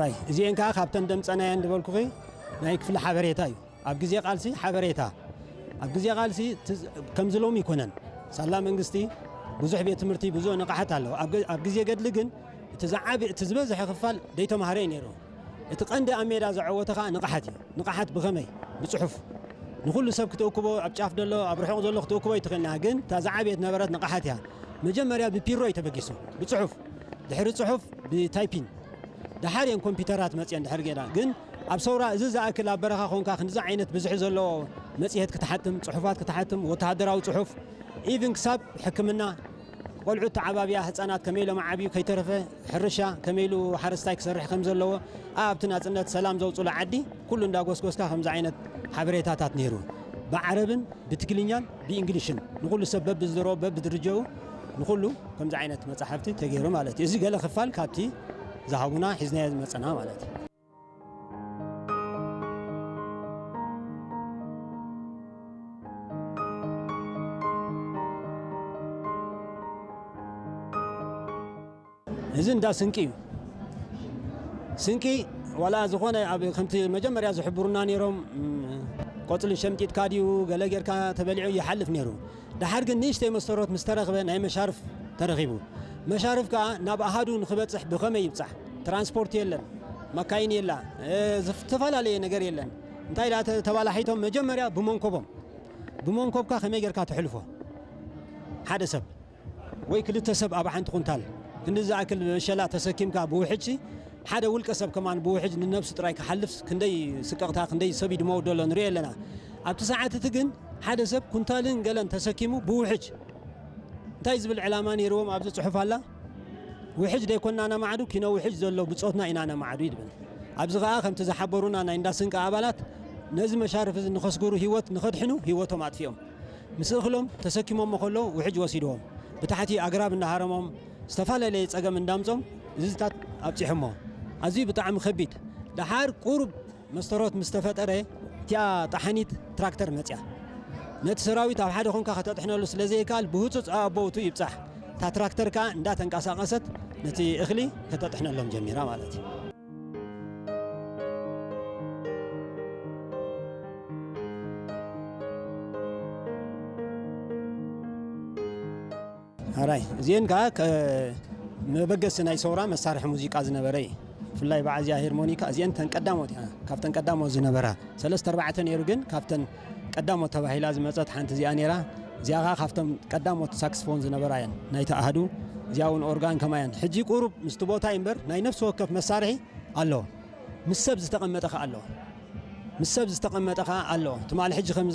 ራይ እዚአን ከዓ ካብተን ደምፀናየን ዝበልኩኺ ናይ ክፍሊ ሓበሬታ እዩ። ኣብ ግዜ ቃልሲ ሓበሬታ፣ ኣብ ግዜ ቃልሲ ትዝ- ከምዚ ሎም ይኮነን። ሳላ መንግስቲ ብዙሕ ቤት ትምህርቲ ብዙሕ ንቕሓት ኣለዎ። ኣብ ገ- ኣብ ግዜ ገድሊ ግን እቲ ዝዓቢ እቲ ዝበዝሐ ክፋል ደይተማሃረ እዩ ነይሩ። እቲ ቀንዲ ኣብ ሜዳ ዘዐወተ ከዓ ንቕሓት እዩ። ንቕሓት ብኸመይ? ብፅሑፍ። ንኹሉ ሰብ ክትእክቦ፣ ኣብ ጫፍ ዘሎ ኣብ ርሑቕ ዘሎ ክትእክቦ ይትኽእልና፣ ግን እታ ዝዓብየት ነበረት ንቕሓት እያ። መጀመርያ ብፒሮ እዩ ተበጊሱ፣ ብፅሑፍ፣ ድሕሪ ፅሑፍ ብታይፒን፣ ደሓር እየን ኮምፒውተራት መፅየን ድሕሪ ጌና። ግን ኣብ ሰውራ እዚ ዝኣክል ኣብ በረኻ ኮንካ ክንዚ ዓይነት ብዝሒ ዘለዎ መፅሄት ክትሓትም፣ ፅሑፋት ክትሓትም፣ ወተሃደራዊ ፅሑፍ፣ ኢቭን ክሳብ ሕክምና፣ ቆልዑት ተዓባብያ፣ ህፃናት ከመይ ኢሎም ዓብዩ ከይተረፈ፣ ሕርሻ ከመይ ኢሉ ሓረስታይ ክሰርሕ ከም ዘለዎ፣ ኣብቲ ናፅነት ሰላም ዘውፅሉ ዓዲ ኩሉ እንዳጎስጎስካ ከምዚ ዓይነት ሓበሬታታት ነይሩ። ብዓረብን ብትግርኛን ብእንግሊሽን ንኹሉ ሰብ በብዝሮ በብድርጀኡ ንኹሉ ከምዚ ዓይነት መጻሕፍቲ ተገይሩ ማለት እዩ። እዚ ገለ ክፋል ካብቲ ዝሃቡና ሒዝናዮ ዝመጸና ማለት እዩ። እዚ እንዳ ስንቂ እዩ። ስንቂ ዋላ ዝኾነ ኣብ ከምቲ መጀመርያ ዝሕብሩና ነይሮም፣ ም፣ ቆጽሊ ሸምጢጥካ ድዩ ገለ ጌርካ ተበሊዑ ይሓልፍ ነይሩ። ደሓር ግን ንእሽተይ መስተሮት ምስ ተረኽበ ናይ መሻርፍ ተረኺቡ። መሻርፍ ከኣ ናብ ኣሃዱ ንኽበጽሕ ብኸመይ ይብጻሕ? ትራንስፖርት የለን፣ መካይን የላ፣ እ፣ ዝተፈላለየ ነገር የለን። እንታይ ኢላ ተ-፣ ተባላሒቶም መጀመርያ ብመንኮቦም። ብመንኮብካ ከመይ ጌርካ ተሕልፎ? ሓደ ሰብ ወይ ክልተ ሰብ ኣብ ሓንቲ ኩንታል ክንዲ ዝኣክል መሸላ ተሰኪምካ ብውሕጅ፣ ሓደ ውልቀ ሰብ ከማን ብውሕጅ ንነብሱ ጥራይ ክሓልፍ ክንደይ ስቅቕታ፣ ክንደይ ሰብ ይድመው ደሎ ንሪኦ ኣለና። ኣብቲ ሰዓት እቲ ግን ሓደ ሰብ ኩንታልን ገለን ተሰኪሙ ብውሕጅ እንታይ ዝብል ዕላማ ነይርዎም ኣብዚ ጽሑፍ ኣላ? ውሕጅ ደይኮና ነማዕዱ፣ ኪኖ ውሕጅ ዘሎ ብጾትና ኢና ነማዕዱ ይብል። ኣብዚ ኸኣ ከምቲ ዝሓበሩና ናይ እንዳ ስንቂ ኣባላት ነዚ መሻርፍ እዚ ንኸስግሩ ህይወት ንኸድሕኑ ህይወቶም ኣጥፊኦም። ምስ እኽሎም ተሰኪሞሞ ከለዉ ውሕጅ ወሲድዎም። ብታሕቲ ኣግራብ እንዳሃረሞም ዝተፈላለየ ጸገም እንዳምጾም እዚታት ኣብጺሖሞ። ኣዝዩ ብጣዕሚ ከቢድ። ደሓር ቁሩብ መስተሮት ምስ ተፈጠረ እቲኣ ጠሓኒት ትራክተር መጽያ። ነቲ ሰራዊት ኣብ ሓደ ኾንካ ከተጥሕነሉ ስለ ዘይከኣል ብህጹጽ ኣቦውቱ ይብጻሕ። እታ ትራክተር ከኣ እንዳተንቀሳቐሰት ነቲ እኽሊ ከተጥሕነሎም ጀሚራ ማለት እዩ። ኣራይ እዚአን ከዓ ከ-፣ መበገሲ ናይ ሰውራ መሳርሒ ሙዚቃ ዝነበረ እዩ። ብፍላይ በዓዚያ ሄርሞኒካ እዚአን ተን ቀዳሞት እያ። ካብተን ቀዳሞት ዝነበራ ሰለስተ ኣርባዕተ ነይሩ፣ ግን ካብተን ቀዳሞት ተባሂላ ዝመፀት ሓንቲ እዚኣ ነይራ። እዚኣ ከዓ ካብቶም ቀዳሞት ሳክስፎን ዝነበራ እየን ናይቲ ኣሃዱ። እዚኣ እውን ኦርጋን ከማ እየን። ሕጂ ቁሩብ ምስቲ ቦታ እዩ እምበር ናይ ነፍሲ ወከፍ መሳርሒ ኣሎ። ምስ ሰብ ዝተቐመጠ ከዓ ኣሎ። ምስ ሰብ ዝተቐመጠ ከዓ ኣሎ። ትማሊ ሕጂ ከምዚ